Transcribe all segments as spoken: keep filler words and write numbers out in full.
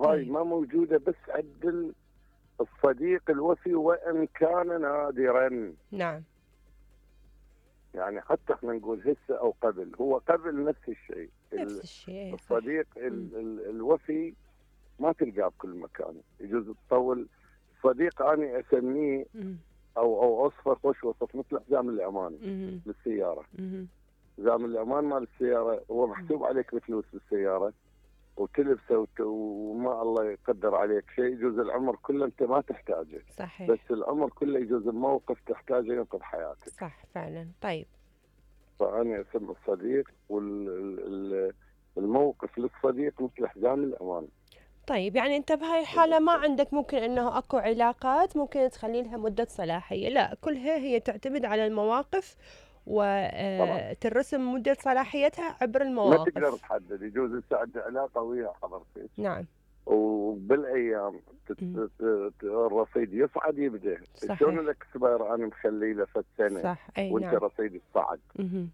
وهاي طيب. ما موجوده بس عند الصديق الوفي وان كان نادرا. نعم. يعني حتى احنا نقول هسه او قبل، هو قبل نفس الشيء. نفس الشيء. الصديق ال ال الوفي ما تلقاه بكل مكان، يجوز تطول. صديق اني اسميه مم. او او اصفه خوش وصف مثل حزام الامان مم. للسياره. مم. حزام الامان مال السياره هو محسوب عليك بفلوس بالسياره وتلبسه وت... وما الله يقدر عليك شيء، يجوز العمر كله انت ما تحتاجه. صحيح. بس العمر كله يجوز الموقف تحتاجه ينقذ حياتك. صح فعلا. طيب. فانا اسم الصديق والموقف للصديق مثل حزام الامان. طيب يعني انت بهاي الحالة ما عندك ممكن انه اكو علاقات ممكن تخلي لها مدة صلاحية، لا كلها هي تعتمد على المواقف وترسم مدة صلاحيتها عبر المواقف. ما تقدر تحدد، يجوز تساعد علاقة ويا حضرتك. نعم. وبالايام الرصيد يصعد يبدا. شلون الاكسباير انا مخلي له فد سنة صح. اي وانت نعم. رصيدك صعد. مهم.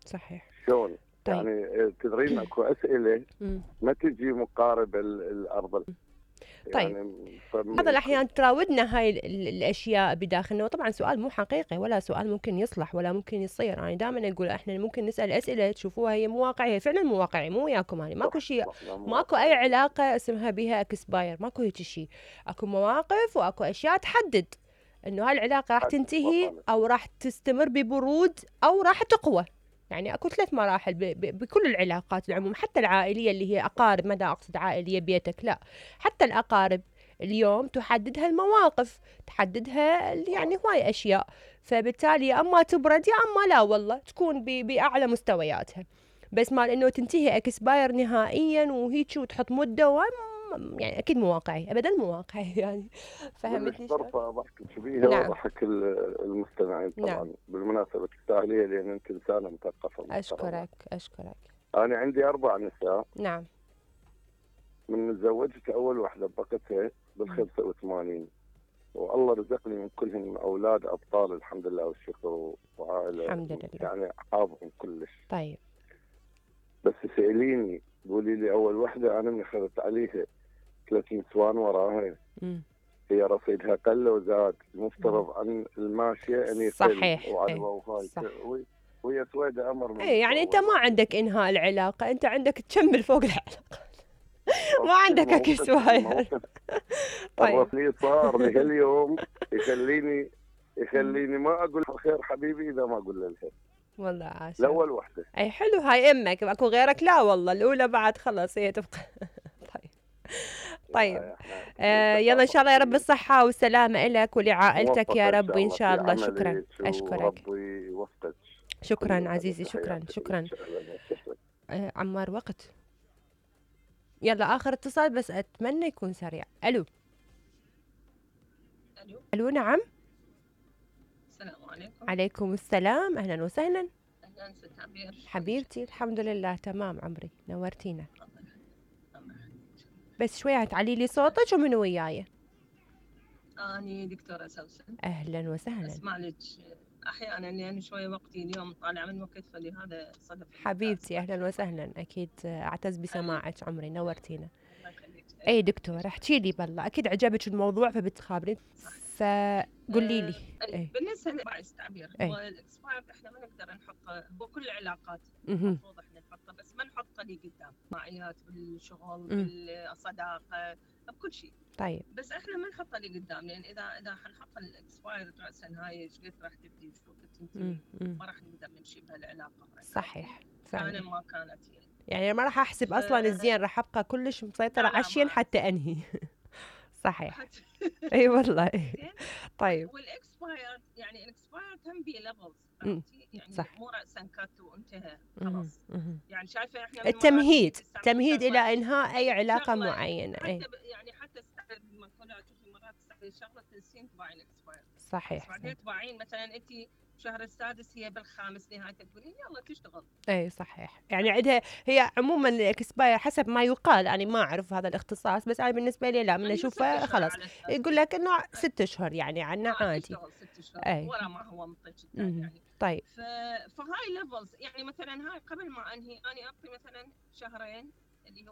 صحيح. شلون؟ طيب. يعني تدرين اكو اسئله مم. ما تجي مقاربه الارض. طيب يعني بعض الأحيان تراودنا هاي الأشياء بداخلنا، وطبعا سؤال مو حقيقي ولا سؤال ممكن يصلح ولا ممكن يصير. أنا يعني دائما أقول إحنا ممكن نسأل أسئلة تشوفوها هي مو واقعية، فعلا مو واقعي، مو وياكم يعني ماكو شيء، ماكو أي علاقة اسمها بها اكسباير، ماكو هيك شيء. أكو مواقف وأكو أشياء تحدد إنه هاي العلاقة راح تنتهي أو راح تستمر ببرود أو راح تقوى. يعني اكو ثلاث مراحل بكل العلاقات العموم، حتى العائليه اللي هي اقارب، ما دا اقصد عائليه بيتك لا، حتى الاقارب اليوم تحددها المواقف، تحددها يعني هواي اشياء. فبالتالي يا اما تبرد يا اما لا والله تكون باعلى مستوياتها. بس مال انه تنتهي اكسباير نهائيا وهيك وتحط مده، يعني اكيد مو واقعي، ابدا مو واقعي يعني. فهمتني شلون؟ طرفه ضحك شبيهه. نعم. وضحك المستمعين طبعا. نعم. بالمناسبه تستاهليها لان انت انسانه مثقفه. اشكرك اشكرك. انا عندي اربع نساء. نعم. من تزوجت اول واحده بقتها بال خمسة وثمانين، والله رزقني من كلهم اولاد ابطال الحمد لله والشكر، وعائله الحمد لله يعني حافظهم كلش. طيب. بس سأليني قولي لي اول وحده انا من اخذت عليها ثلاث نسوان وراها. م. هي رصيدها قل وزاد، المفترض عن الماشيه ان يقل. صحيح. وعلى وهاي وهي سويده امر. اي يعني انت ما عندك انهاء العلاقه، انت عندك تكمل فوق العلاقه. ما عندك اكسباير. طيب الرصيد صار لهاليوم يخليني يخليني ما اقول خير حبيبي اذا ما اقول له الخير. والله عاش. الاول وحده. اي حلو، هاي امك، اكو غيرك؟ لا والله الاولى بعد خلص هي تبقى. طيب. طيب. آه يلا ان شاء الله يا رب الصحه والسلامه لك ولعائلتك يا رب ان شاء الله. شكرا. اشكرك. ربي يوفقك. شكرا عزيزي. شكرا شكرا. آه عمار وقت. يلا اخر اتصال بس اتمنى يكون سريع. الو. الو. الو نعم. السلام عليكم. عليكم السلام، اهلا وسهلا. اهلا ست عبير. حبيبتي الحمد لله تمام عمري، نورتينا. بس شوية تعلي لي صوتك ومن وياي. اني دكتورة سوسن. اهلا وسهلا. اسمع لك احيانا يعني شوية وقتي اليوم طالع من وقت، فلهذا صدف. حبيبتي اهلا وسهلا، اكيد اعتز بسماعك عمري، نورتينا. الله يخليك. اي دكتور احكي لي بالله، اكيد عجبك الموضوع فبتخابرين، فقولي لي. أه أي. بالنسبه لباعث تعبير هو الاكسباير احنا ما نقدر نحطه، هو كل العلاقات المفروض احنا نحطه، بس ما نحطه لي قدام معيات بالشغل بالصداقه بكل شيء. طيب. بس احنا ما نحطه لي قدام، لان اذا اذا حنحط الاكسباير راسا هاي ايش قد راح تبدي وش وقت تنتهي، ما راح نقدر نمشي بهالعلاقه. صحيح. فعلا ما كانت يعني يعني ما راح احسب ف... اصلا الزين، راح ابقى كلش مسيطره على الشين حتى انهي. صحيح. اي والله. طيب. والاكسباير يعني الاكسباير كم بي ليفلز يعني صح. مو راسا كات وانتهى خلاص. يعني شايفه احنا التمهيد تمهيد الى انهاء اي علاقه معينه. حتى أي. يعني حتى لما كنا تشوفي مرات تستعملي شغله تنسين تباعين اكسباير. صحيح. بعدين تباعين مثلا انت شهر السادس هي بالخامس نهايه تقولين يلا تشتغل. اي صحيح. يعني عندها هي عموما الاكسباير حسب ما يقال، انا ما اعرف هذا الاختصاص، بس انا بالنسبه لي لا، من اشوفه خلاص يقول لك انه ست اشهر يعني عنا عادي. ست اشهر ولا ما هو منطق جدا يعني. طيب. ف... فهاي ليفلز يعني مثلا هاي قبل ما انهي انا اعطي مثلا شهرين اللي هو